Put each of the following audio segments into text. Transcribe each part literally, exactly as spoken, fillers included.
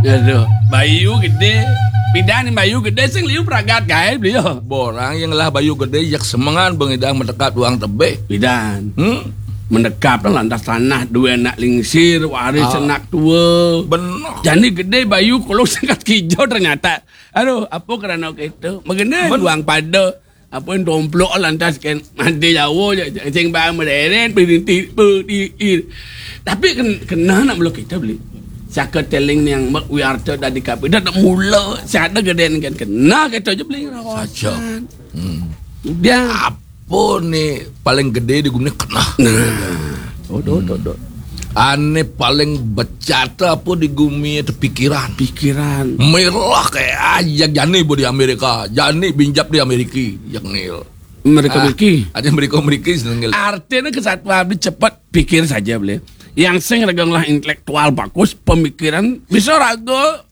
Aduh, bayu gedé. Pidan bayu gedé sing liu pragat gaé beliau. Borang yang lah bayu gedé, yak semengan bengidang mendekat uang tebih. Pidan. Hmm? Mendekap lah lantas tanah, dua anak lingsir, waris Ah. anak tua. Benar. Jani gedé bayu kalau sangat kijau ternyata. Aduh, apa kerana gitu? Mengenai Men- uang pada. Apa yang domplok lantas kan mati jauh je. Sing bang mereret, berhenti, berhenti. Tapi ken, kena nak meluk kita beli. Saka teling yang mek wiarta dari kapi. Dah nak mula. Siapa geden kan kena kita je beli rawasan. Saja. Hmm. Dia. Apa ni paling gede di gumi kena? Nah. Oh, do, do, do. Ane paling becata apa di gumi itu pikiran. Pikiran. Merah kayak aja jani bu di Amerika, jani binjap di Amerika, yang ngil. Mereka Ah, Amerika. Ada mereka Amerika senengil. Artinya kesatuan beli cepat pikir saja beli. Yang sing raga ngelah intelektual bagus, pemikiran bisa raga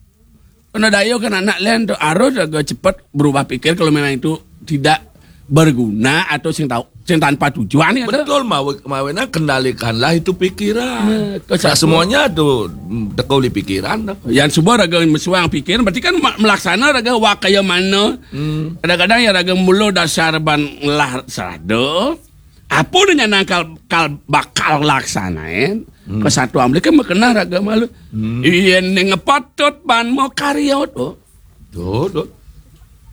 kena daya kan anak lain tu harus raga cepat berubah pikir kalau memang itu tidak berguna atau sing tahu sing tanpa tujuan ya tu. Betul, mawe, mawe nak kendalikanlah itu pikiran. Ya, kau Nah, satu. Semuanya tu mm, tekau di pikiran tu. Yang semua raga mesuang pikiran berarti kan ma- melaksana raga wakaya mana. Hmm. Kadang-kadang yang raga mula dasar ban ngelah serada. Apa dia nyanang kal, kal bakal laksanain? Hmm. Kesatuan beli kan berkenah raga malu. Hmm. Iya ni ngepatut ban mau karya tu. Tu, tu.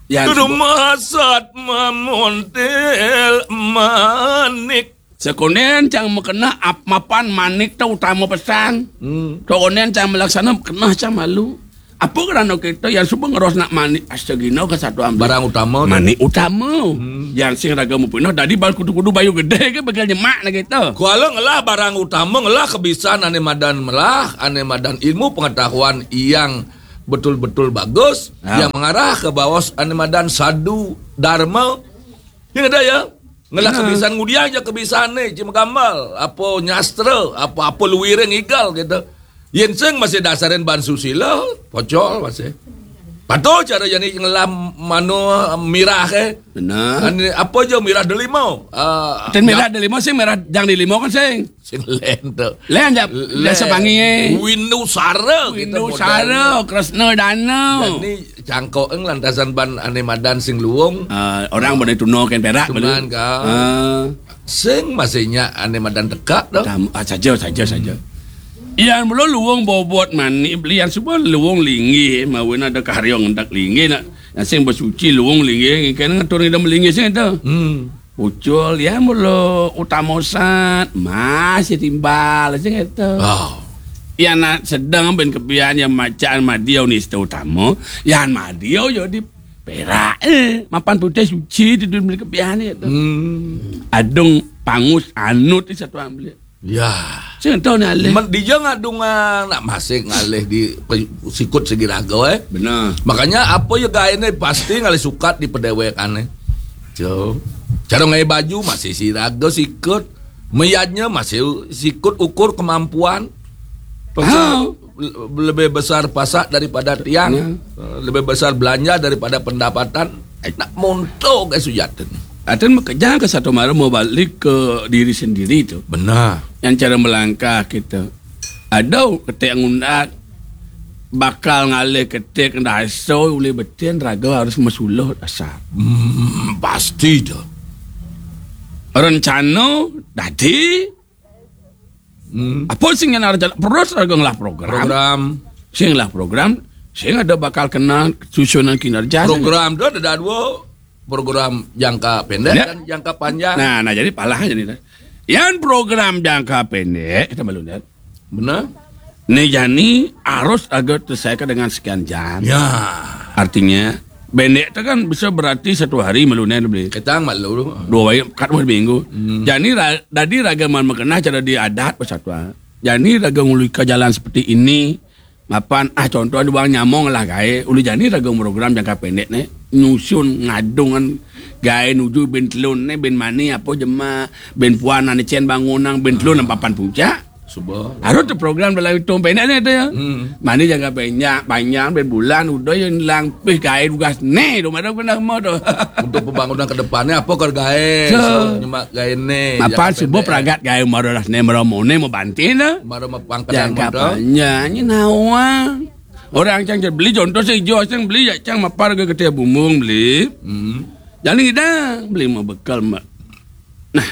Ya, Tuduh sebab masat mamontel manik. Sekonen cang mekena ap mapan manik tu utama pesan. Hmm. Sekonen cang melaksana kena cang malu. Apa kerana kita yang suba ngeros nak manik astagina kesatuan beli? Barang utama tu. Manik utama. Hmm. Yang sing raga mupinah dadi bal kudu-kudu bayu gede ke bakal nyemak nak kita. Kuala ngelah barang utama ngelah kebisan ane madan melah, ane madan ilmu pengetahuan yang betul-betul bagus, Ya. Yang mengarah ke bawah ane madan sadu dharma. Yang ada ya. Ngelah Ya. Kebisan ngudiang je kebisan ni, cuma gamal, apa nyastra, apa apa luwiring igal gitu. Yen sing masih dasarin ban susila, pocol masih. Patuh cara jani ngelah mano mirah ke. Benar. Ane, apa je mirah delima? Ah, Dan merah delima sing merah jang delima kan sing. Sing lain tu. Lain je, Lain. Biasa panggil, eh. Windu Sara gitu Windu model. Sara, Kresna Dana. Jani cangkok eng lantasan ban ane madan sing luung. Ah, orang boleh tuno kan perak Cuman boleh. Ka. Ah. Sing masih nya ane madan tekak tu. Tam, ah, saja, saja, saja. Yang belum luung bobot mani beli yang semua luung linggih, mawin ada karya ngendak linggih nak. Yang sing bersuci luung linggih, kan ngatur ngidam linggih sing tu. Hmm. Ucul, ya mula utama sat, masih timbal, sing kata. Oh. Ya nak sedang ben kebian yang macaan madia ni satu utama, yang madia jadi perak, eh, mapan putih suci di dunia kebian ni tu. Hmm. Adung pangus anut ni satu ambil. Ya. Sing tahu ni alih. Men, dia ngadung ah, nak masih ngalih di pe- sikut segi raga, eh. Benar. Makanya apa ya gaene pasti ngalih sukat di pedewekane. So, cara ngai baju masih si raga sikut, meyadnya masih sikut ukur kemampuan. Pasal Ah. le- lebih besar pasak daripada tiang, Ya. eh, lebih besar belanja daripada pendapatan. Eh, nak montok ke sujatan. Atan makejang ke satu malam mau balik ke diri sendiri tu. Benar. Yang cara melangkah kita. Ada ketik ngundat bakal ngalih ketik daso ulih betin raga harus mesuluh dasar. Hmm, pasti tu. Rencana dadi Hmm. Apa sing yang ada terus raga ngelah program. Program. Sing ngelah program, sing ada bakal kena susunan kinerja. Program tu ada dua program jangka pendek Ya. Dan jangka panjang. Nah, nah jadi palah jadi. Yang program jangka pendek kita malu lihat. Benar. Ni jani harus agak terselesaikan dengan sekian jam. Ya. Artinya pendek tu kan bisa berarti satu hari malu ni beli. Ketang malu. Dua hari kat dua minggu. Hmm. Jani ra, dadi raga man makenah cara di adat persatuan. Jani raga ngulika jalan seperti ini. Mapan ah contoh ada bang nyamong lah gae. Ulu jani raga program jangka pendek ni nyusun ngadungan gae nuju ben telun ni ben mani apa jema ben puan ane cen bangunang ben telun papan puncak. Suba. Harus tu program dalam hitung pendek ni tu ya. Hmm. Mani jangka panjang, panjang ben bulan udah yang langpih gae tugas ni tu madam kena mau tu. Untuk pembangunan ke depannya apa kau gae? So. So, nyemak gae ni. Mapan jangka subuh pendek. Peragat gae marolas ni meromone mau bantin tu. Maro mapangkadan Jangka modal. Panjang ni nawang. Orang cang beli contoh sing ijo, cang beli ya cang mapar ke kete bumung beli. Hmm. Jani ngidang beli mau bekal mak. Nah,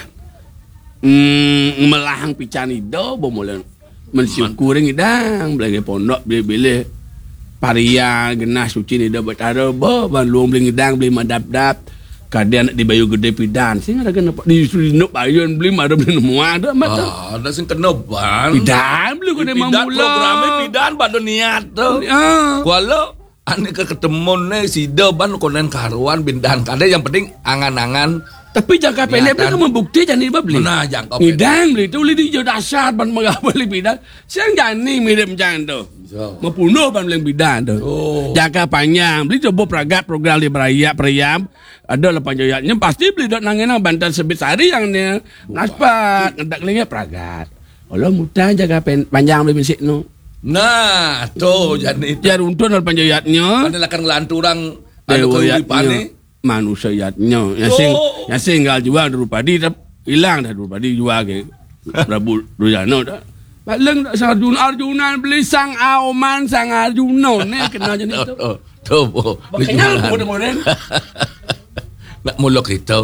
mm, ngemelahang pican ido bo mulai mensyukuri ngidang beli pondok beli beli parian genah suci ido betara bo ban luang beli ngidang beli madap-dap. Kadian di Bayu Gede pidan sing ada kena di Sudinok Bayun beli mah ada beli nemu ada mah tu. Ah, ada sing kena ban. Pidan beli kena pidan mamula. Programnya pidan pada niat tu. Ah. Kuala ane ke ketemu ne sida ban konen karuan bindan kada yang penting angan-angan. Tapi jangka pendek beli membukti jani ba beli. Mana jangka pendek? Ngidang beli tu beli di jo dasar ban megah beli pidan. Siang jani mirip macam tu. Membunuh ban beli pidan tu. Oh. Jangka panjang beli coba peragat program di beraya periam. Ada lapan joyatnya pasti beli dok nangin nang bantal sebit sari yang ni. Naspat ngedak lingi peragat. Kalau mutang jaga pen, panjang beli misik nu. Nah, tu jadi tu. Jar untun lapan joyatnya. Ada lakan ngelanturang ada kau di pane. Manusia yatnya. Yang sing, oh, yang sing gal jual dulu padi tep, hilang dah dulu padi jual ke. Prabu Durjana dah. Paling dah sang Arjuna, Arjuna beli sang Aoman, sang Arjuna ni kena jadi tu. Tu, tu, bo. Makanya aku dengerin. Nak muluk itu.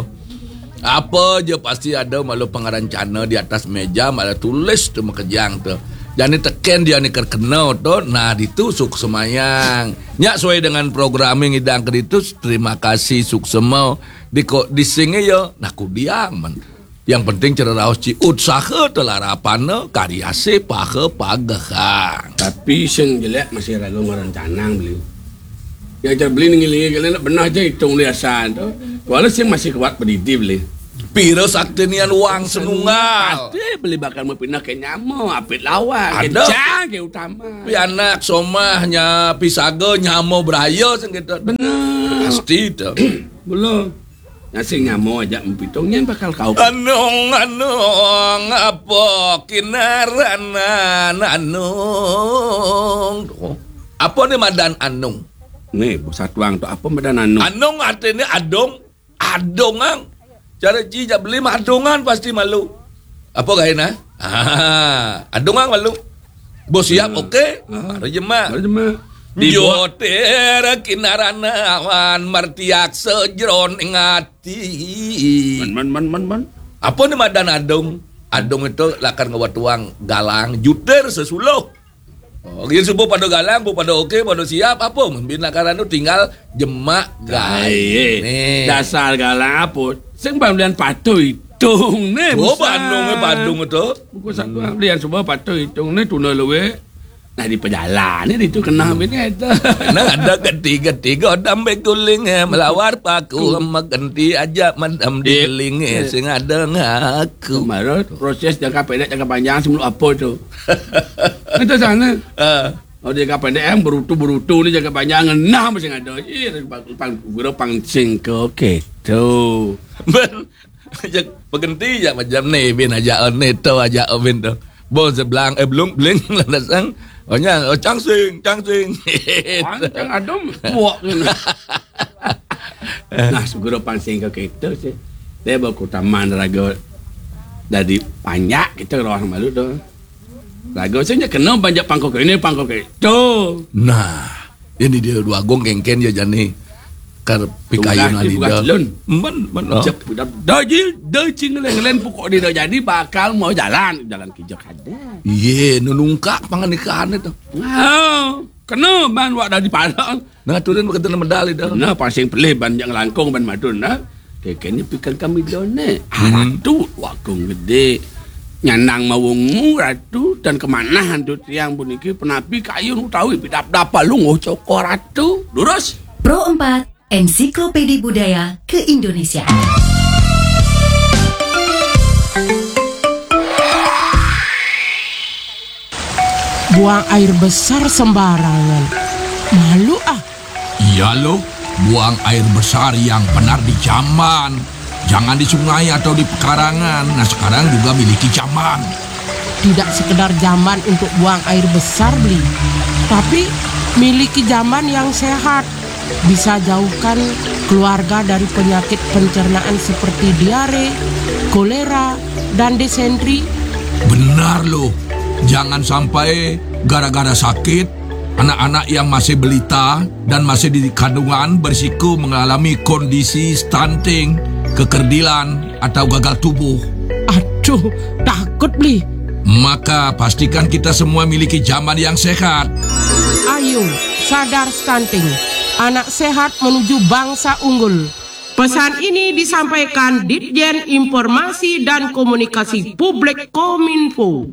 Apa je pasti ada malu pengarancana di atas meja, malu tulis tu makejang tu. Jadi teken dia ni terkena tu, nah ditu suk semayang. Nyak sesuai dengan programming idang ke ditu, terima kasih suk semau. Di ko, di sini ya, nah kudiang man. Yang penting cara raos ci utsaha telarapana karya si paha pagehang. Tapi sing jelek masih ragu ngaran canang beli. Yang cara beli ngilingi kalian nak benar aja hitung liasan tu. Walau sing masih kuat berdidi beli. Pira sakti nian wang senunggal. Pasti beli bakal mau pindah ke nyama, apit lawan, ada. Kencang ke utama. Pi anak somahnya pisaga nyama beraya sing kita. Benar. Pasti tu. Belum. Nasi nyamo aja mpitung nyen bakal kau. Anung, anung, apa kinaranan anung? Apa ni madan anung? Ni, bos satuang tu apa madan anung? Anung artinya adung, adungang. Cara ci jak beli mah adungan pasti malu. Apa gaena? Ah, adungang malu. Bos siap, hmm, oke. Ah. Baru jemak. Baru jemak. Joter kinaranawan martiak sejroning ati. Man, man, man, man, man. Apa ni madan adung? Adung itu lakar ngawat tuang galang juter sesuluh. Oh, gitu subuh pada galang, bu pada oke, pada siap, apa? Mungkin lakaran tu tinggal jemak gae. Dasar galang apa? Sing pamlian patuh hitung ni. Oh, besar. Bandung, eh, Bandung tu. Buku satu pamlian semua patuh hitung ni tuna luwe. Nah, di perjalanan itu kena bini itu. Nah, ada ketiga-tiga dambe guling, eh, melawar paku, magenti aja madam di, eh, guling, eh, sing ada ngaku. Kemarin proses jangka pendek, jangka panjang sebelum apa tu? Itu sana. Ah. Oh, jangka pendek yang berutu-berutu ni jangka panjang ngenah masih ada. Ih, pang, pang, guru pang sing ke, oke, tu. Ber-, berhenti je macam ni, bin aja ni, tu aja, bin tu. Bon sebelang, eh, belum, beling, landasan. Oh, nya, oh, cangsing, cangsing. Pancang adem, puak ni. Nah, segera pansing ke kita sih. Dia bawa ke taman raga dari panjak kita roh malu tu. Raga sih nya kena panjak pangkok ini, pangkok itu. Nah, ini dia dua gong kengken ya jani. Kar pikayun tunggal alida. Tugas lun. Men, men, oh. Cek, dah, dah, ji, dah, cing, leng, leng, pokok dia dah jadi bakal mau jalan, jalan kijak ada. Ye, nunungkak pangan ikan itu. Oh, kena ban wak dah dipalang. Nah, turun begitu medal itu. Nah, pasing pelih ban yang langkung ban madun, nah. Kekenya pikan kami done. Hmm. Aratu wakung gede. Nyanang mawungmu, Ratu, dan kemanahan tu tiang puniki penapi kayun utawi pidap-dapa lunguh cokor, Ratu. Lurus. Pro empat, Ensiklopedi Budaya Keindonesiaan. Buang air besar sembarangan. Malu ah. Iya loh, buang air besar yang benar di jamban. Jangan di sungai atau di pekarangan. Nah, sekarang juga miliki jamban. Tidak sekedar jamban untuk buang air besar, Beli. Tapi miliki jamban yang sehat. Bisa jauhkan keluarga dari penyakit pencernaan seperti diare, kolera, dan disentri. Benar loh. Jangan sampai gara-gara sakit, Anak-anak yang masih balita dan masih di kandungan berisiko mengalami kondisi stunting, kekerdilan, atau gagal tubuh. Aduh, takut beli. Maka pastikan kita semua miliki jamban yang sehat. Ayo, sadar stunting. Anak sehat menuju bangsa unggul. Pesan ini disampaikan Ditjen Informasi dan Komunikasi Publik Kominfo.